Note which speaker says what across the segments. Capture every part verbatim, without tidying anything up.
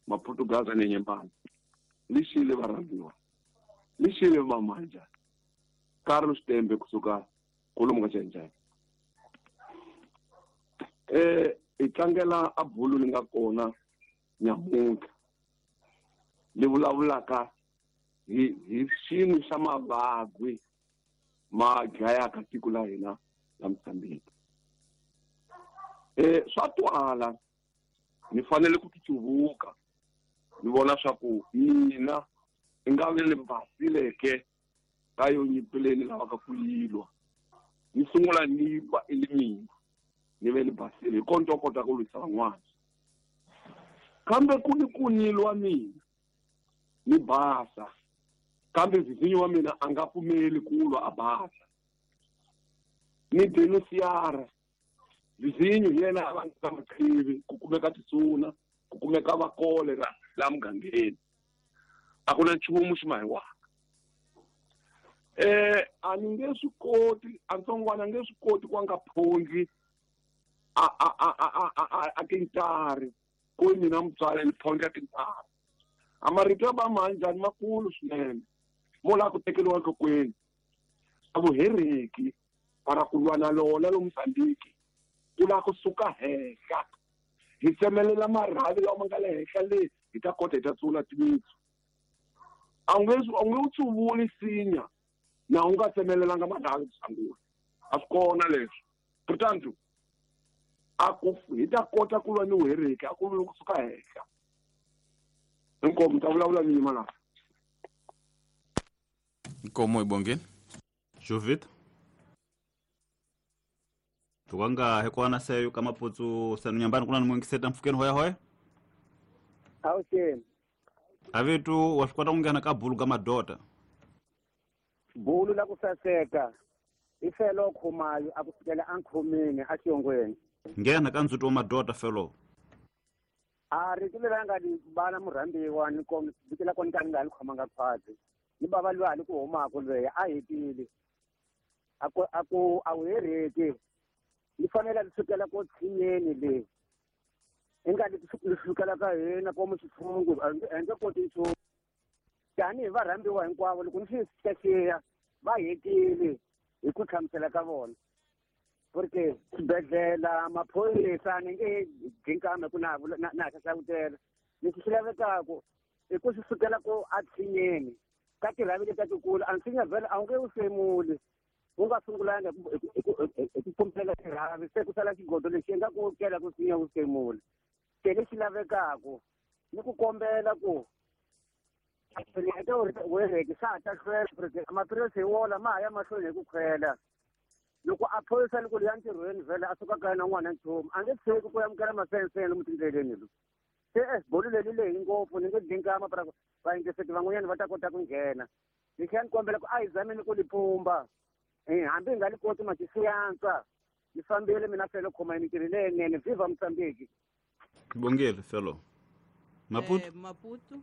Speaker 1: Maputo Gaza Nyenyembana lixile varhambiwa lixile vamanja Carlos Tembe kusuka kolomu ka Xincane eh hi tlangela a bulu li nga kona nyamuntlha li vulavulaka hi hi xin'we xa mavabyi ma dlayaka tiko la hina la Mozambique. Eh swa twala ni fanele ku titsuvuka ni vona swa ku mina i nga ve le basileke ka yo nyimpi leyi ni lavaka ku yilwa ni sungula ni lwa i le mina ni ve ni basile hi kona ni ta kota ku lwisa van'wana kambe ku ni ku ni lwa mina ni basa kambe vizinyo wa mina a nga pfumeli ku lwa a basa ni denunciara vizinyo hi yena a va nga maqhivi ku kumeka tisuna ku kumeka va kolera la mugangeni a ku na nchumu xi mahiwaka eh a ni nge swi koti a ntsongwana a nge swi koti ku a nga phondli a a a a a a a tintari ku mina mutswari ni phondla tintari a marito ya va manjhani makulu swinene mo lava ku tekeriwa enhlokweni a vuhereki para ku lwa na lona lo Mozambique ku lava kusuka henhla hi tsemelela marhavi lawa ma nga le henhla le hi ta kota hi ta tsula timitsu a wu nge a wu nge wu tsuvuli sinya na u nga tsemelelanga marhavi ku sungula a swi kona leswi portanto a ku hi ta kota ku lwa ni vuhereki a ku lwi kusuka henhla inkomu ta vulavula ni yima laha
Speaker 2: Nkomo ibongeni
Speaker 3: Jovit tukanga hekwana seyo kama potso sanu nyambani kuna nimwingiseta mfukeni hoya hoya
Speaker 4: awuxeni
Speaker 3: avitu wa swi kota ku nghena ka bulu ka madota
Speaker 4: bulu la ku saseka i felo khumayo a ku fikela a nkhomini a xiyongweni
Speaker 3: nghena ka ndzuti wa madota felo
Speaker 4: a rito leri a nga ni bana murhambiwa ni kom vito la kona ka ni nga ni khomanga khwatsi ni bava lwa hali ku humaka lweya a hetile a ku a ku a wu hereki ni fanele ni sukela ko tshinyeni le i nga li sukela ka hina komu xitshungu a nge koti nchumu tanihi varhambiwa hinkwavo loko ni swi xiyaxiya va hetile hi ku hlamusela ka vona porque swibedhlele maphorisa ni nge dyinkame ku na na na hlavutela leswi swi lavekaka i ku swi sukela ko a tshinyeni ka tirhavi leti tikulu a nsinya vhele a wu nge wu semuli wu nga sungulanga hi ku pfumela tirhavi se ku sala xigodo lexi nga ku kela ku sinya wu semula se lexi lavekaka ni ku kombela ku wereki swa ha ta hlwela porque maphilisi hi wona ma ha ya mahlweni hi ku khwela loko a phorisa loko liya ntirhweni vhele a suka kaya na n'wana nchumu a nge tshiki ku amukela masensene lomu tindleleni lo se bolo leri lehi ngopfu ni nge dinkama para vayingiseti van'wanyana va ta kota ku nghena lexi a ni kombela ku a hi zameni ku li pumba hambi hi nga li koti mati swi antswa ni fambile mina felo khoma mintirho leyinene viva Mozambique
Speaker 3: bongele felo Maputo
Speaker 5: eh, Maputo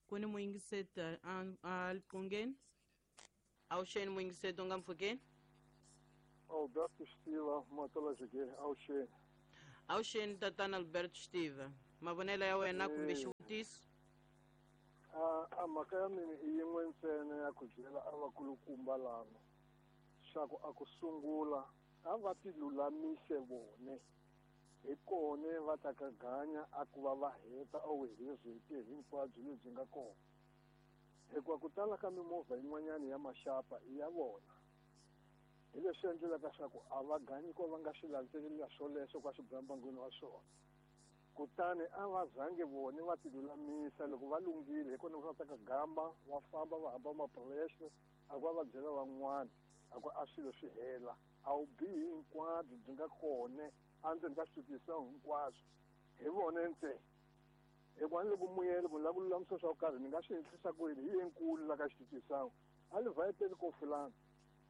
Speaker 5: kuni muyingiseta a liqongeni awuxeni muyingiseti u nga mpfhukeni
Speaker 6: Alberto Stiva Matolajige awuxeni
Speaker 5: awuxeni tatana Alberto Stiva mavonelo ya wena kumbe xivutiso
Speaker 6: a a mhaka ya mina i yin'we ntsena ya ku byela a vakulukumba lava xa ku a ku sungula a va ti lulamise vone hi kone va ta ka ganya a ku va va heta a vuhezeti hinkwabyo lebyi nga kona hikuva ku tala ka mimovha yin'wanyana ya maxapa i ya vona hi leswi endlelaka swa ku a va ganyi ko va nga swi landzelela swoleswo ka swibambangwini wa swona kutani a va zangi vone va ti lulamisa loko va lunghile hi kona va ta ka gamba va famba va hamba maphurese a ku va va byela van'wana a ku a swilo swi hela a wu bihi hinkwabyo byi nga kona endzeni ka switutisa hinkwaswo hi vone ntsena hikuva ni loko muyele ku ni lava ku lulamisa swa ku karhi ni nga swi endlisa ku yini hi yenkulu la ka xitutisana a ni vhayeteli ko fulani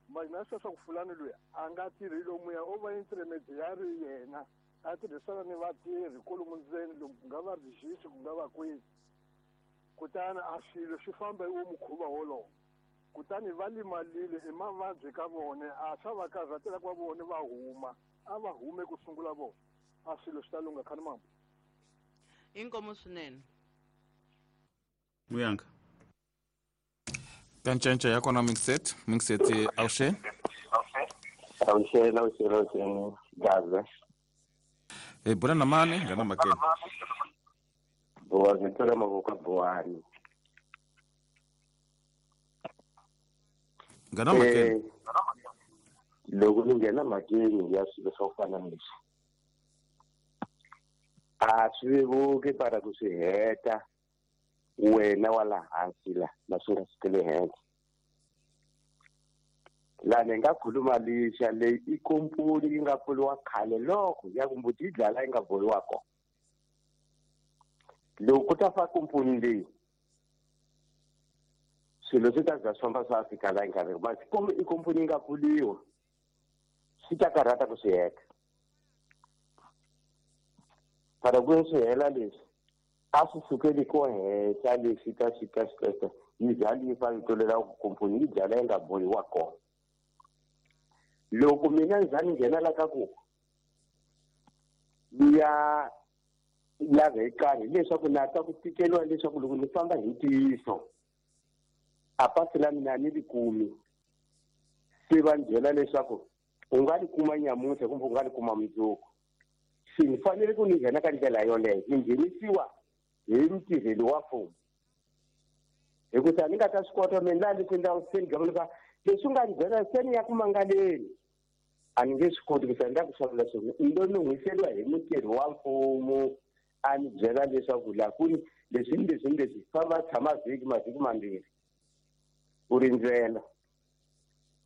Speaker 6: mara na swa swa ku fulani loyi a nga tirhi lomuya o va intermediary yena a tirhisana ni vatirhi kolomu ndzeni lomu ku nga va rijisi ku nga va kwihi kutani a swilo swi famba hi wo mukhuva wolowo kutani va limalile i mavabyi ka vona a swa va karhatela ku va vone va huma a va hume ku sungula vona a swilo swi ta lungha khani mambo
Speaker 5: Inkomo swinene.
Speaker 3: Muyanga.
Speaker 2: Kanchenche ya kona mixet, mixet awushe.
Speaker 7: Awushe, awushe, awushe, Gaza.
Speaker 2: Eh bora na mane, ngana makeni.
Speaker 7: Boa, ngithola mavoko boani.
Speaker 2: Ngana makeni.
Speaker 7: Loko ni nghena makeni ya swilo swo fana na leswi. A swi vevuki para ku swi heta wena wa la hansi la na swi nga sukeli henhla. Laha ni nga khuluma lexa leyi i komponi yi nga pfuriwa khale loko ya ku mbuti yi dlala yi nga bohiwa kona. Loko ku ta fa komponi leyi swilo swi ta za swi famba swa fika laha yi nga ri masi i komponi yi nga pfuriwa swi ta karhata ku swi heta. Para ku swi hela leswi a swi sukeli ko henhla leswi ta swi ta swi ta yi dlala yi fa yi tlulela ku komponi yi dlala yi nga bohiwa kona. Loko mina ni za ni nghena la ka ku ni ya lava hi karhi leswaku na ta ku tikeriwa leswaku loko ni famba hi ntiyiso a pasi la mina ni ri kumi se va ni byela leswaku u nga ri kuma nyamuntlha kumbe u nga ri kuma mundzuku. Se ni fanele ku ni nghena ka ndlela yoleyo ni nghenisiwa hi mutirheli wa mfumo hikusa ni nga ta swi kota mina laha leswi endlaka se ni gavulaka leswi nga ni byela se ni ya ku mangaleni a ni nge swi koti ku sa ni ta ku hlamula swona ni lo nun'hwiseriwa hi mutirhi wa mfumo a ni byela leswaku laha ku ni leswi ni leswi ni leswi famba tshama vhiki mavhiki mambirhi u rindzela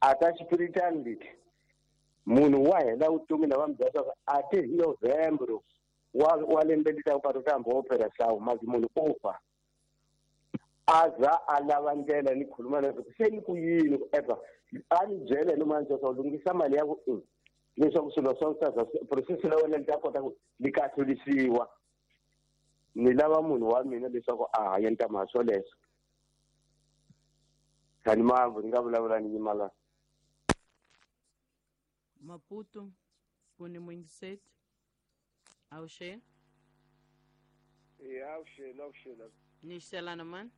Speaker 7: a ta xipiritani lexi munhu wa hela vutomi na va mi byela leswaku a ti hi November wa wa lembe leri taka u ta hamba wo phela hlawu masi munhu u fa a za a lava ndlela ni khuluma leswaku se ni ku yini ku eva a ni byela ni mani leswaku lunghisa mali ya ku i leswaku swilo swa ta process la wena li ta kota ku li kahlurisiwa. Ni lava munhu wa mina leswaku a hanya ni ta mhaka swoleswo. Khani mamvu ni nga vulavula ni yima la.
Speaker 5: Maputo kuni muyingiseti. Awushe.
Speaker 6: Eh awushe awushe la.
Speaker 5: Ni xelana mani?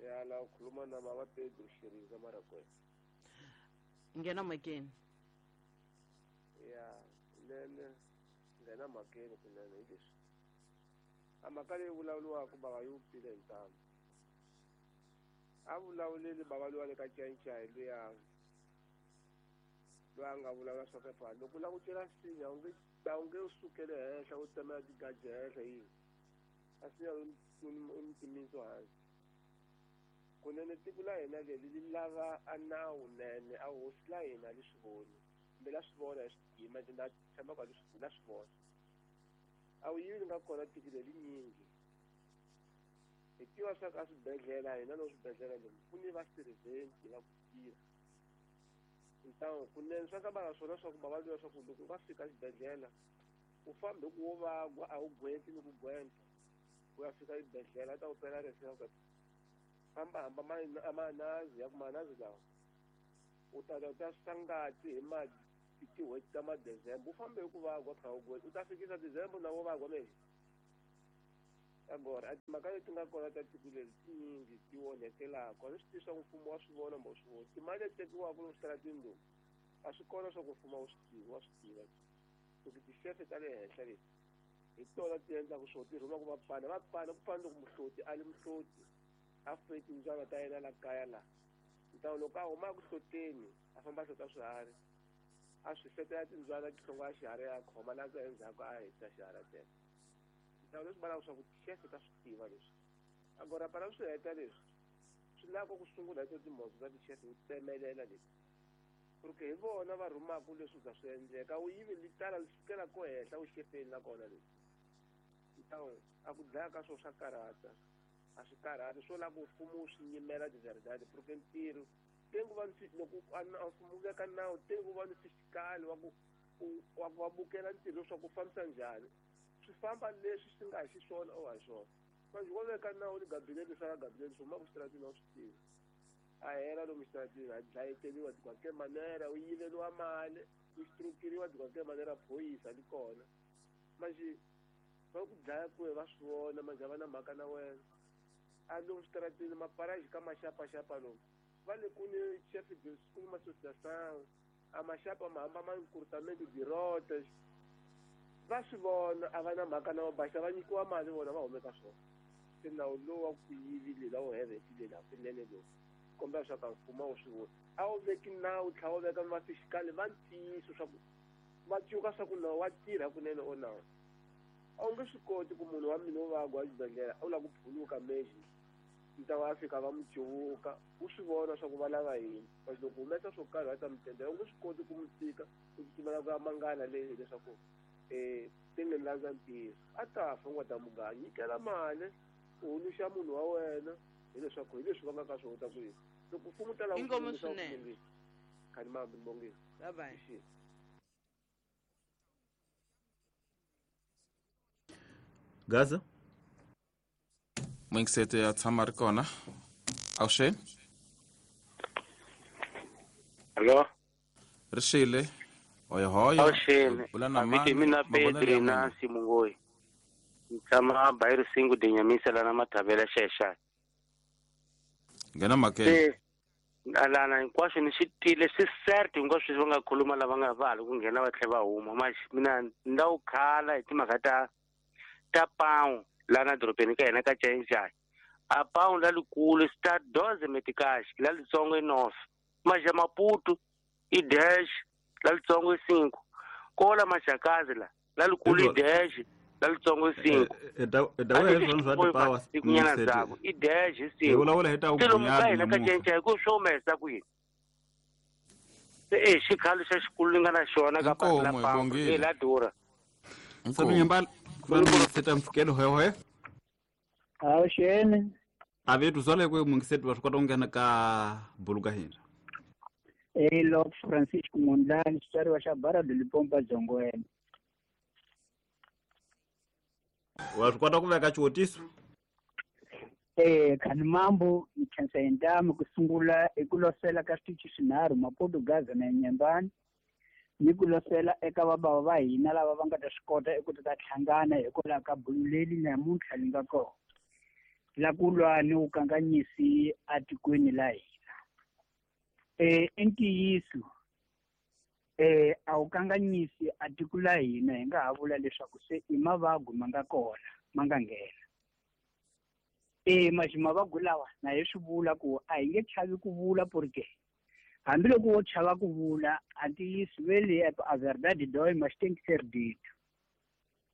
Speaker 6: Ya la ukhuluma na baba Pedro Shiriza Marakwena.
Speaker 5: Nghena makeni.
Speaker 6: Ya nene nghena makeni kunene hi leswi. A mhaka leyi vulavuriwaka bava yi wupfile hi ntamu. A vulavuleli bava luwa le ka Nchayichayi luya loyi a nga vulavula swa pepa loko u lava ku cela nsinya u nge a wu nge u sukele henhla u tsemela tigaji henhla yini a sinya u ni timitsu hansi. Kunene tiko la hina leri li lava a nawu nene a hosi la hina li swi voni kumbe la swi vona hi swi tima na tshemba ku la swi vona. A wu yivi nga kona tiko leri nyingi hi tiva swa ka swibedhlele hina no swibedhlele lomu ku ni va siriventi va ku tirha ntangu kunene swa ka va swona swa ku va va swa ku loko u nga fika xibedhlele u fambe ku wo vagwa a wu gwenti ni ku gwenta u ya fika xibedhlele a ta ku pela rese ku famba hamba manazi ya ku manazi lawa u ta ta ta sangati hi ma tin'hweti ta ma-December u fambe hi ku vagwa kha u gwenta u ta fikisa December na wo vagwa mele agora a timhaka leti nga kona ta tiko leri tinyingi ti onhekelaka a ni swi tivi swa ku mfumo wa swi vona mbo swi voni timali leti tekiwaka lomu switaratini lomu a swi kona swa ku mfumo wu swi tivi wa swi tiva loko tixefe ta le henhla leti hi tona ti endlaka swona ti rhumaka vapfana vapfana ku fana loko muhloti a li muhloti a fuye timbyana ta yena la kaya la ntawu loko a huma ku hloteni a famba a hlota swiharhi a swi setela timbyana ti hlongola xiharhi a khoma na ku endzhaku a hisa xiharhi a teka ntawu leswi vulaka swa ku tixefe ta swi tiva leswi agora para swi heta leswi swi lava ku sungula hi to timhondzo ta tixefe u tsemelela leti porque hi vona va rhumaka leswi za swi endleka wu yivi li tala li sukela ko henhla wu xefeni na kona leswi ntawu a ku dlaya ka swona swa karhata a swi karhati swo lava ku mfumo wu swi nyimela tizaridadi porque ntirho tengu va loko mfumo wu veka nawu tengu va ni fisikali wa ku wa ku va bukela ntirho leswaku u fambisa njhani swi famba leswi swi nga hi xiswona o ha swona manje wo veka nawu ni gabinete swa ka gabinete swi humaka xitaratini a wu swi tivi a hela lomu xitaratini a dlayeteriwa tikwake manera u yiveriwa mali u xitrukiriwa tikwake manera phoyisa li kona manje
Speaker 8: Va ku dlaya ku va swi vona manje va na mhaka na wena. A lomu switarateni maparaji ka maxapaxapa lomu. Va le ku ni chef de school ma association. A maxapa ma hamba ma nkurtamento dirote. Va swi vona a va na mhaka na baxa va nyikiwa mali vona va humeka swona. Se nawu lowu wa ku yivile lawo hevetile la kunene lowu. Kombela swa ka mfumo wu swi vona. A wu veki nawu tlhela wu veka va fiscal va ntiyiso swa ku va cuka swa ku nawu wa tirha kunene o nawu. A wu nge swi koti ku munhu wa mina wo vagwa exibedhlele a wu lava ku phuluka meji ni ta va fika va n'wi cuvuka u swi vona swa ku va lava yini kasi loko humesa swo karhi va ta mi tendela u nge swi koti ku n'wi tika u tsutsumela ku ya mangana leyi leswaku um ti nge landza ntiyiso a ta fa u nga ta muganga nyikela mali u huluxa munhu wa wena hileswaku hi leswi va nga ka swona ta ku yini loko mfumo ta lava
Speaker 5: Inkomo swinene.
Speaker 8: Khani mambi ni
Speaker 5: Bye bye.
Speaker 3: Gaza
Speaker 2: Mwingisete ya tshama ri kona. Awuxeni.
Speaker 9: Hello.
Speaker 2: Ri xile. Hoyo hoyo.
Speaker 9: Awuxeni.
Speaker 2: Bula na
Speaker 9: Aviti
Speaker 2: mani.
Speaker 9: mina
Speaker 2: Mavonelo
Speaker 9: Pedri
Speaker 2: ya
Speaker 9: na
Speaker 2: n'wina.
Speaker 9: Simungoyi. Ni tshama Bayirisingu Dinyamisa lana Mathavela Xexani.
Speaker 2: Nghena mhakeni.
Speaker 9: Se alana hinkwaswo ni swi twile swi cert hinkwaswo leswi va nga khuluma lava nga va hala ku nghena va tlhela va huma manje mina ni la ku khala hi timhaka ta ta pawu lana dorobeni ka hina ka Chainjani. A pawu la likulu star doze metikash la litsongo i north manje Maputo i dash la litsongo i cinco kola Maxakazi la la likulu i dash la litsongo i cinco
Speaker 3: dawe hi swona swa tipawa
Speaker 9: tikunyana dzako i dash i
Speaker 3: hi
Speaker 9: cinco
Speaker 3: vulavula hi ta
Speaker 9: se lomu ka
Speaker 3: vugunyani
Speaker 9: hina ka
Speaker 3: namuntlha
Speaker 9: Chainjani ku swi humesa ku yini se e xikhalo xa xikulu ni nga na xona ka pasi la
Speaker 2: Inkomo, hi
Speaker 9: pambu
Speaker 2: bongile.
Speaker 9: e la durha
Speaker 3: Sanu Nyambala ku na Mwingisete mfukelo hoyo hoyo.
Speaker 10: Awuxeni.
Speaker 3: A ve tuzwale ku Mwingisete wa swi kota ku nghena ka bulu ka hina.
Speaker 10: Elo Francisco Mondlane xitswariwa xa Barado Limpopo Dzongweni.
Speaker 3: Wa swi kota ku veka xivutiso?
Speaker 10: Eh khani mambo ni khensa hi ntamu ku sungula i ku losela ka switichi swinharhu Maputo, Gaza na Nyembani ni ku losela eka vabava va hina lava va nga ta swi kota eku ta ta hlangana hikwalaho ka bulu leri namuntlha li nga kona la ku lwa ni vukanganyisi atikweni la hina. Eh i ntiyiso eh a wu kanganyisi a tiko la hina hi nga ha vula leswaku se i mavabyi ma nga kona ma nga nghena. Eh maxi mavabyi lawa na hi swi vula ku a hi nge chavi ku vula porque hambiloko wo chava ku vula a ntiyiso vele a verdade dói mas tem que ser dito.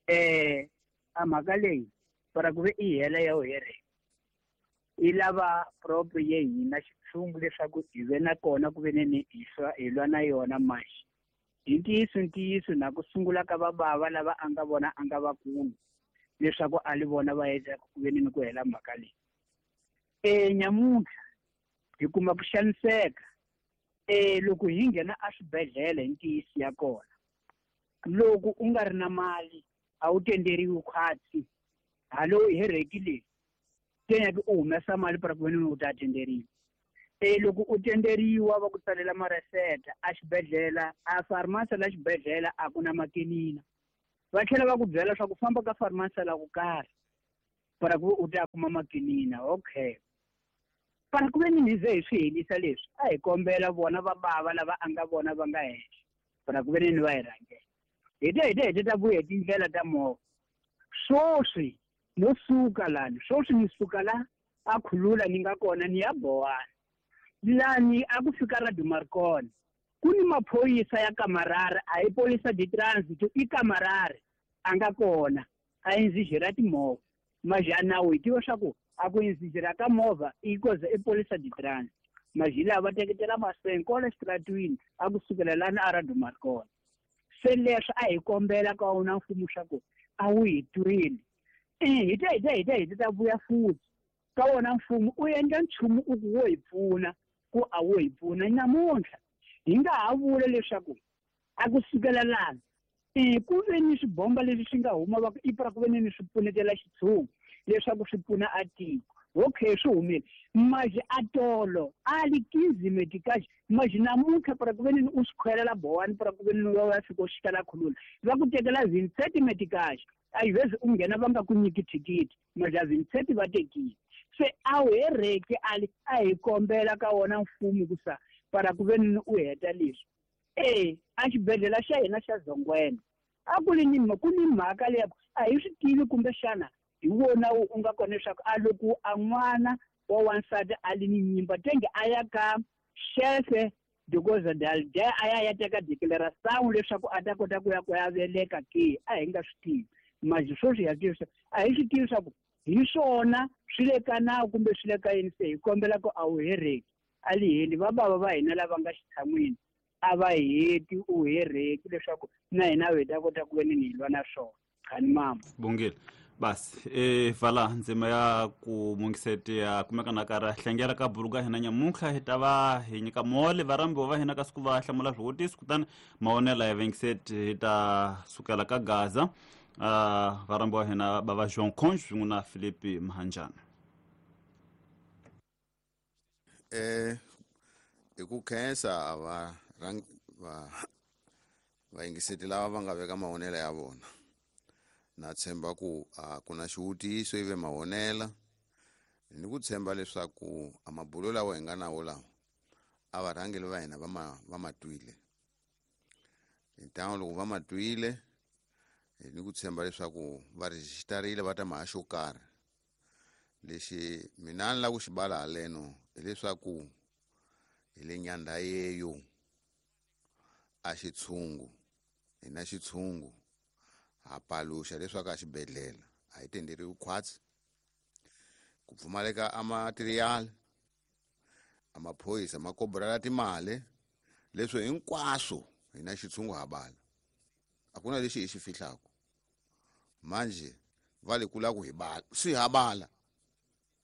Speaker 10: Eh a mhaka leyi para ku ve i hela ya wu hereke i lava proprio ye hina xitshungu leswaku hi ve na kona ku ve ni hi swa hi lwa na yona maxi hi ntiyiso ntiyiso na ku sungula ka vabava lava a nga vona a nga vakulu leswaku a li vona va endla ku ve ni ku hela mhaka leyi. Eh nyamuntlha hi kuma ku xaniseka eh loko hi nghena eswibedhlele hi ntiyiso ya kona loko u nga ri na mali a wu tenderiwi khwatsi halo hi hereki leyi tenya u humesa mali para ku ve ni u ta tenderiwa. Eh loko u tenderiwa va ku tsalela mareseta a xibedhlele a pharmacy la xibedhlele a ku na makinina va tlhela va ku byela swa ku famba ka pharmacy la ku karhi para ku u ta kuma makinina. Okay para ku ve ni hi ze hi swi helisa leswi a hi kombela vona va bava lava a nga vona va nga henhla para ku ve ni va hi rhangela hi ta hi ta hi ta vuya hi tindlela ta movha swoswi no suka lani swoswi ni suka la a khulula ni nga kona ni ya Bowana lani a ku fika Radio Marconi ku ni maphorisa ya kamarare a hi polisa di transit i kamarare a nga kona a inzijira timovha maja nawu hi tiva swa ku a ku inzijira ka movha i koza i polisa di transit maji lava va teketela mahlweni kwala xitaratwini a ku sukela lani a Radio Marconi. Se leswi a hi kombela ka wona mfumo swa ku a wu hi twile eh hi ta hi ta hi ta hi ta vuya futhi ka wona mfumo u endla nchumu u ku wo hi pfuna ku a wo hi pfuna namuntlha hi nga ha vula leswaku a ku sukela lani eh ku ve ni swibomba leswi swi nga huma va ku i para ku ve ni swi pfunetela xitshungu leswaku swi pfuna a tiko Okay, swi humile maji atolo a li quinze meticais mas namuntlha para ku veni u swi khwelela bowani para ku veni wa fika u xikala khulula va ku tekela vinte e sete meticais às vezes u nghena va nga ku nyiki thikithi mas a vinte e sete va tekile se a wu hereki ali a hi kombela ka wona mfumo ku sa para ku veni u heta leswi e a xibedhlele xa hina xa Zongwena a ku li ni ku ni mhaka leya a hi swi tivi kumbexana hi wona u nga kona leswaku a loko a n'wana wa wansati a li ni nyimba tenge a ya ka xefe because dalde a ya ya teka declaration leswaku a ta kota ku ya ku ya veleka ke a hi nga swi tivi maji sweswi ya tivisa a hi swi tivi leswaku hi swona swi le ka nawu kumbe swi le ka yini se hi kombela ku a wu hereki a li heli va bava va hina lava nga xitshan'wini a va heti u hereki leswaku na hina hi ta kota ku veni hi lwa na swona khani mama
Speaker 3: bongile basi e vala ndzima ya ku mungiseti ya kumeka na kara hlengela ka buluka hina nyamuntlha hi ta va hi nyika mole varhambiwa va hina ka siku va hlamula swivutiso kutani mavonelo ya vengiseti hi ta sukela ka Gaza uh, varhambiwa hina bava João Conde swin'we na Filipe Mahanjana
Speaker 11: eh hi ku khensa va va vayingiseti lava va nga veka mavonelo ya vona na tshemba ku a ku na xivutiso ive mavonela ni ku tshemba leswaku a mabulo lawa hi nga nawo lawa a varhangeli va hina va ma va ma twile hi ntango loko va ma twile ni ku tshemba leswaku va rejisitarile va ta mhaka xo karhi lexi mina ni lava ku xi bala haleno hileswaku hi le nyandha yeyo a xitshungu hi na xitshungu ha paluxa leswaku a xibedhlele a hi tenderiwi khwatsi ku pfumaleka a material a maphorisa ma kobrela timali leswi hinkwaswo hi na xitshungu ha bala a ku na lexi hi xi fihlaka manje va le ku lava ku hi bala swi ha bala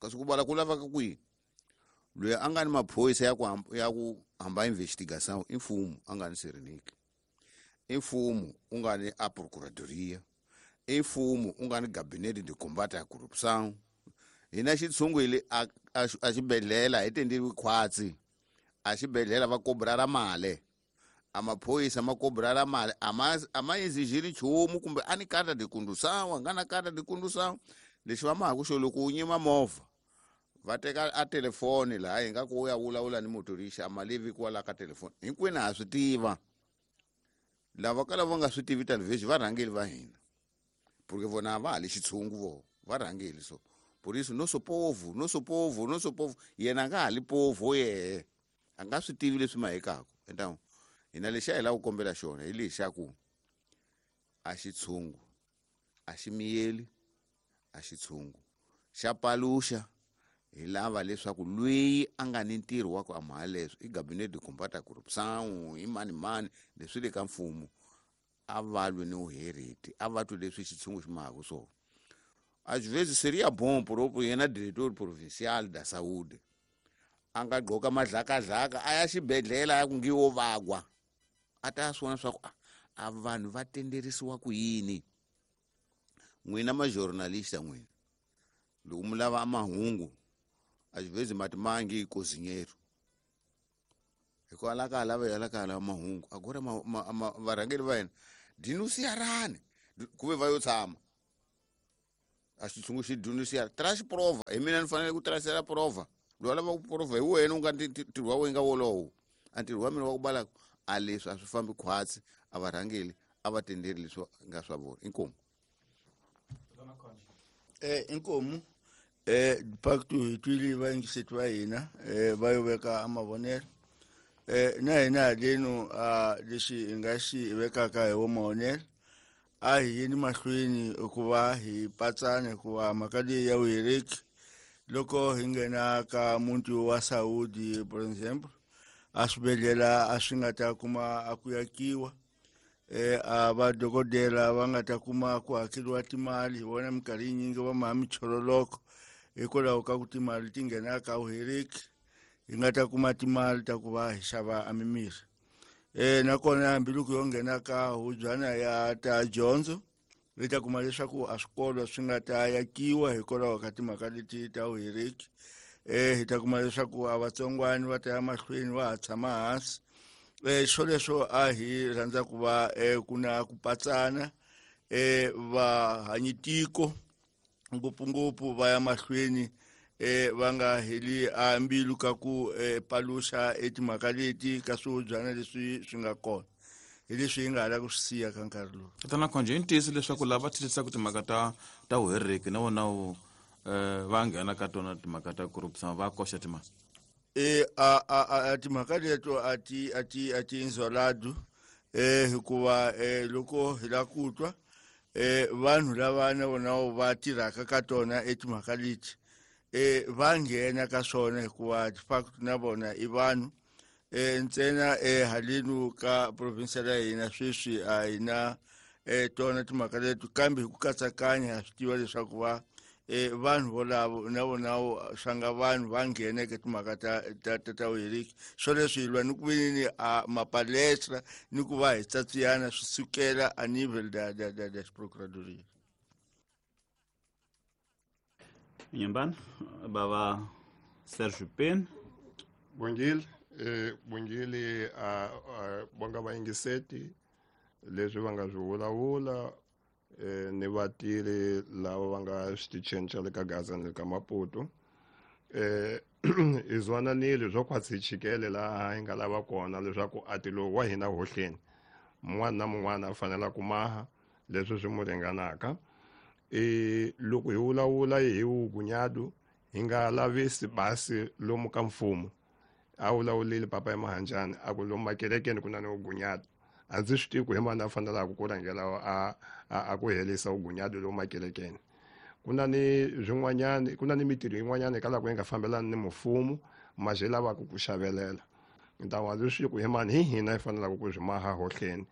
Speaker 11: kasi ku bala ku lavaka kwihi loyi a nga ni maphorisa ya ku ya ku hamba investigation i mfumo a nga ni Serenike i mfumo u nga ni a procuradoria i mfumo u nga ni gabinete de combate a corrupção hina xitshungu hi le a a xibedhlele hi tenderiwi khwatsi a xibedhlele va kobrara mali a maphorisa ma kobrara mali a ma a ma exigiri nchumu kumbe a ni carta de condução a nga na carta de condução lexi va mahaku xo loko u nyima movha va teka a telefoni laha hi nga ku u ya vulavula ni motorista a malivi kwala ka telefoni hinkwenu ha swi tiva lava ka lava nga swi tivi television va rhangeli va hina porque vona va ha le xitshungu vo va rhangeli so por isso nosso povo nosso povo nosso povo yena a nga ha li povo yehe a nga swi tivi leswi mahekaka então hina lexi a hi lava ku kombela xona hi lexaku a xitshungu a xi miyeli a xitshungu xa paluxa hi lava leswaku loyi a nga ni ntirho wa ku amhala leswi i gabinete de combate a corrupção i mani mani leswi le ka mfumo a va lwi ni uhereti a va twi leswi xitshungu xi mahaka swona às vezes seria bom próprio yena diretor provincial da saúde a nga gqoka madlakadlaka a ya xibedhlele a ya ku ngiwo vagwa a ta swi vona swa ku a vanhu va tenderisiwa ku yini n'wina ma-journalista n'wina loko mi lava mahungu às vezes mati mangi cozinheiro hikwalaho ka lava ya la ka lava mahungu agora varhangeri va hina denunciarani ku ve va yo tshama a xitshungu xi denunciara traz prova hi mina ni fanele ku trasela prova loyi a lava ku prova hi wena u nga ntirho wa wena nga wolowo a ntirho wa mina wa ku balaka a leswi a swi fambi khwatsi a varhangeli a va tenderi leswi nga swa vona inkomu
Speaker 12: eh inkomu eh facto hi twile vayingiseti va hina eh va yo veka amavonelo eh na hina haleno a lexi hi nga xi vekaka hi wo mavonelo a hi yeni mahlweni ku va hi patsana hikuva mhaka leyi ya vuhereki loko hi nghena ka muti wa Saudi for example a swibedhlele a swi nga ta kuma a ku yakiwa eh a vadokodela va nga ta kuma ku hakeriwa timali hi vona minkarhi yinyingi va maha michololoko hikwalaho ka ku timali ti nghena ka vuhereki hi nga ta kuma timali ta ku va hi xava a mimirhi eh nakona hambiloko yo nghena ka hubyana ya ta dyondzo Mi ta kuma leswaku a swikolo swi nga ta yakiwa hikwalaho ka timhaka leti ta vuheriki. Eh hi ta kuma leswaku a vatsongwani va ta ya mahlweni va ha tshama hansi. Eh swoleswo a hi rhandza ku va eh ku na ku patsana eh va hanyitiko ngopfungopfu va ya mahlweni eh va nga heli a mbilu ka ku eh, paluxa etimhaka leti ka swihobyana leswi swi nga kona hi leswi hi nga ha la ku swi siya ka nkarhi lowu.
Speaker 2: Tatana Khonje, i ntiyiso leswaku lava thithisaka timhaka ta ta vuheriki na vona wu eh va nghena ka tona timhaka ta corruption va koxa timali?
Speaker 12: E a a a timhaka leto a ti a ti a ti inzoladu eh hikuva eh loko hi la ku twa eh vanhu lava na vona va tirhaka ka tona etimhaka leti eh va nghena ka swona hikuva de facto na vona i vanhu. Eh ntsena eh halenu ka province ya hina sweswi a hi na eh tona timhaka leto, kambe hi ku katsakanya ha swi tiva leswaku va eh vanhu volavo na vona swa nga vanhu va nghena eka timhaka ta ta ta ta vuheriki. Swoleswo hi lwa ni ku veni a mapalestra ni ku va hi tsatsiyana swi sukela a nivel da da da da procuradoria.
Speaker 3: Nyambana baba Serge Pen.
Speaker 13: Bongile eh bongile a bonga vayingiseti leswi va nga swi vulavula eh ni vatirhi lava va nga switichini xa le ka Gaza ni le ka Maputo. Eh hi zwananile swo khwatsi hi chikele laha hi nga lava kona leswaku a ti lowu wa hina hohleni mun'wana na mun'wana a fanela ku maha leswi swi n'wi ringanaka. E loko hi vulavula hi vugunyadu hi nga lavisi basi lomu ka mfumo. A vulavulile papa ya Mahanjani a ku lomu makerekeni ku na ni vugunyadu. A ndzi swi tivi ku hi mani a fanelaka ku rhangela a a ku herisa vugunyadu lomu makerekeni. Ku na ni swin'wanyani, ku na ni mitirho yin'wanyana eka loko yi nga fambelani ni mfumo maje lavaka ku xavelela. Ntawu a ndzi swi tivi ku hi mani hi hina hi fanelaka ku swi maha hohleni.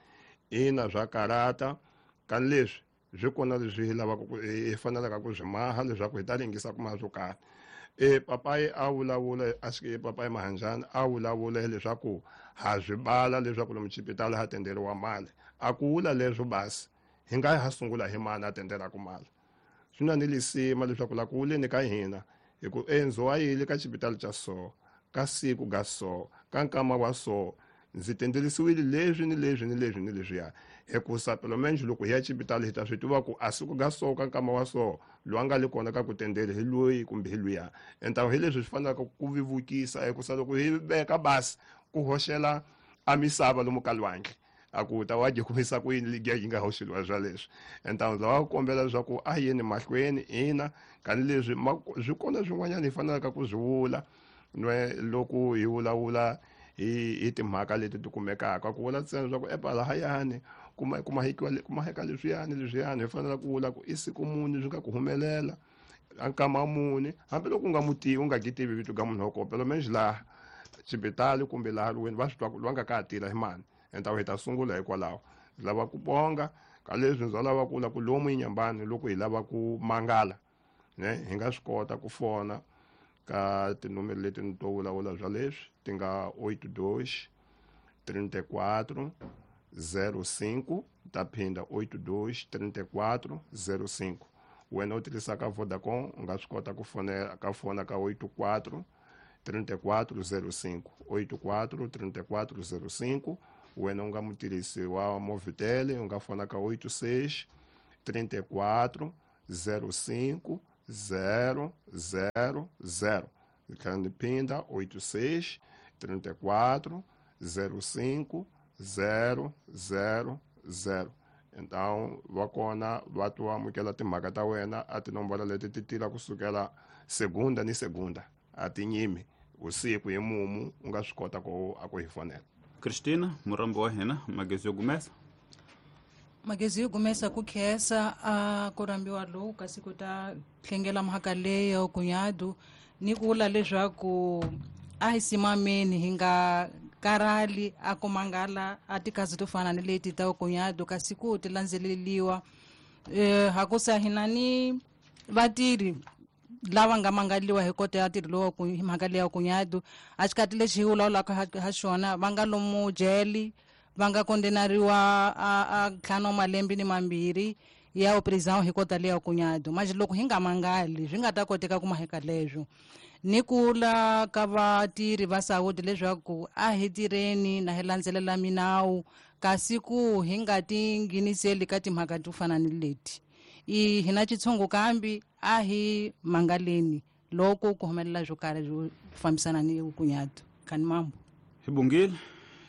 Speaker 13: Ina swa karata kani leswi swi kona leswi hi lavaka ku hi fanelaka ku swi maha leswaku hi ta ringisa ku maha swo karhi. E papayi a vulavula a swi papayi Mahanjani a vulavula leswaku ha swi bala leswaku lomu xipitali ha tenderiwa mali. A ku vula leswo basi hi nga ha sungula hi mani a tendelaka mali. Swi na ni lisima leswaku la ku vuleni ka hina hi ku endzo wa yile ka xipitali xa so ka siku ga so ka nkama wa so ndzi tendelisiwile leswi ni leswi ni leswi ni leswiya. Hikusa pelo menje loko hi ya xipitali hi ta swi tiva ku a siku ga so ka nkama wa so loyi a nga le kona ka ku tendeli hi loyi kumbe hi luya. Entawu hi leswi swi fanelaka ku vevukisa hikusa loko hi veka basi ku hoxela a misava lomu ka lwandle a ku ta wa kumisa ku yini ligiya yi nga hoxeliwa swa leswi. Entawu ndzi lava ku kombela leswaku a yeni mahlweni ina kani leswi swi kona swin'wanyana hi fanelaka ku swi vula nwe loko hi vulavula hi hi timhaka leti ti kumekaka ku vula ntsena leswaku epa lahayani kuma kuma hikiwa kuma heka leswiyani leswiyani hi fanele ku vula ku i siku muni swi nga ku humelela a nkama muni hambiloko u nga mu tivi u nga ki tivi vito ka munhu wa kona pelo menje laha xipitali kumbe laha lweni va swi twa ku loyi a nga ka ha tirha hi mani. Entawu hi ta sungula hikwalaho. Ndzi lava ku bonga ka leswi ndzi lava ku vula ku lomu Inyambani loko hi lava ku mangala ne hi nga swi kota ku fona ka tinomero leti ni to vulavula bya leswi ti nga oito dois trinta e quatro zero cinco ta phinda oito dois trinta e quatro zero cinco. Wena u tirhisaka Vodacom u nga swi kota ku fonela ka fona ka oito quatro trinta e quatro zero cinco oito quatro trinta e quatro zero cinco. Wena u nga mutirhisi wa Movitel u nga fona ka oito seis trinta e quatro zero cinco zero zero zero. Ndzi tlhela ndzi phinda oito seis trinta e quatro zero cinco zero zero zero. Então va kona va to amukela timhaka ta wena a tinomboro leti ti tila kusukela segunda ni segunda a ti nyimi usiku hi mumu u nga swi kota ku a ku hi fonela.
Speaker 3: Christina murambo wa hina magezi yo gumesa
Speaker 14: magezi yo gumesa ku khensa a ku rambiwa lowu kasi ku ta hlengela mhaka leyo kunyadu ni ku vula leswaku a hi simameni hi nga karali a ku mangala a tikazi to fana ni leti ta kunyadu kasi ku ti landzeleliwa eh hakusa hina ni vatirhi lava nga mangaliwa hi kota ya ntirho lowu ku hi mhaka leya kunyadu a xikati lexi hi vulavulaka ha xona va nga lomu jele va nga kondenariwa a a ntlhanu wa malembe ni mambirhi ya prisão hi kota leya kunyado mas loko hi nga mangali swi nga ta koteka ku maheka leswo ni kula ka vatirhi va saúde leswaku a hi tirheni na hi landzelela minawu kasi ku hi nga ti ngheniseli ka timhaka to fana ni leti i hi na xitshungu kambi a hi mangaleni loko ku humelela swo karhi swo fambisana ni kunyado kani mambo
Speaker 3: hi bongile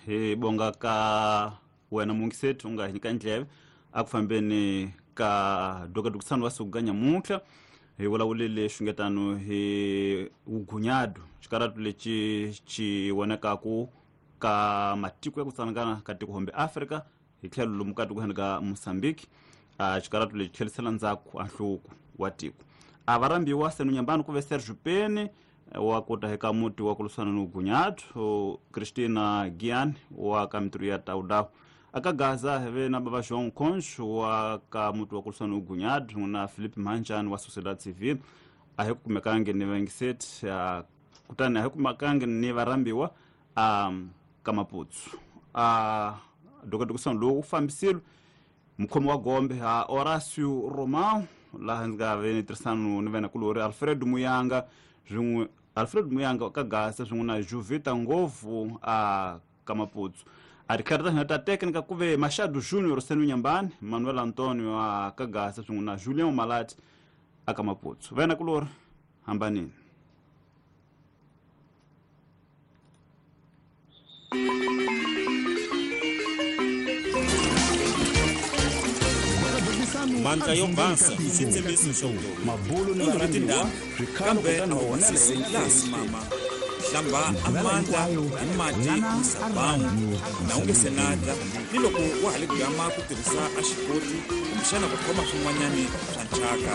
Speaker 3: hi bonga ka wena mungisethi u nga hi nyika ndleve a ku fambeni ka dokadokisano wa siku ka nyamuntlha hi vulavulile xungetano hi vugunyado xikaratu lexi xi vonekaku ka matiko ya ku tsanangana ka tiko hombe Afrika hi tlhelo lomu ka tiko ka Mozambique a xikaratu lexi tlhelisela ndzhaku a nhluvuko wa tiko a va rhambiwa senu nyambani ku ve Sergio Pene wa kota eka muti wa ku lwisana ni vugunyado Christina Gian wa ka mitirho ya Taudawu aka Gaza hi ve na baba João Concho wa ka muti wa ku lwisana ni vugunyado na Philip Manjani wa Sociedade Civile a hi kumekangi ni vaingiseti kutani a hi kumekangi ni varhambiwa a ka Maputsu a dokadokisano lowu fambisile mukhomi wa gombe a Horácio Romão laha ndzi nga ve ni tirhisano ni venakulori Alfredo Muyanga swin'we Alfredo Muyanga ka Gaza swin'we na Juvita Ngovu a ka Maputsu a tikhari ta hina ta técnica ku ve Machado Junior Senu Nyambani Manuel Antonio a ka Gaza swin'we na Julian Malati a ka Maputsu venakulori hambanini.
Speaker 15: Mandla yo basa i xitshembiso xa vutomi u ri tindhawu kambe a wu basisi laha simama hlamba a mandla hi mati ni sabawu na u nge se natla ni loko wa ha li gama ku tirhisa a xikoti kumbexana ku khoma swin'wanyani swa nchaka.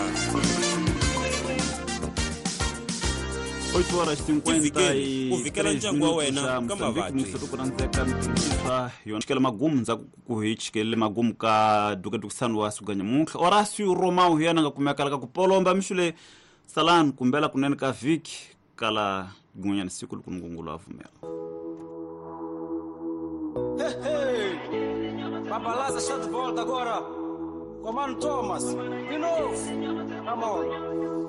Speaker 3: oito horas e cinquenta e três minutos a Moçambique yona magumu ndzhaku ku hi chikele magumu ka dukadukisano wa siku ka nyamuntlha Horácio Romão hi yena nga kumekala ka ku polomba mixule salani kumbela kunene ka vhiki kala gin'wanyana siku loko Nkulunkulu a pfumela.
Speaker 16: Hey, hey. Babalaza está de volta agora. Comando Thomas, de novo. Come on.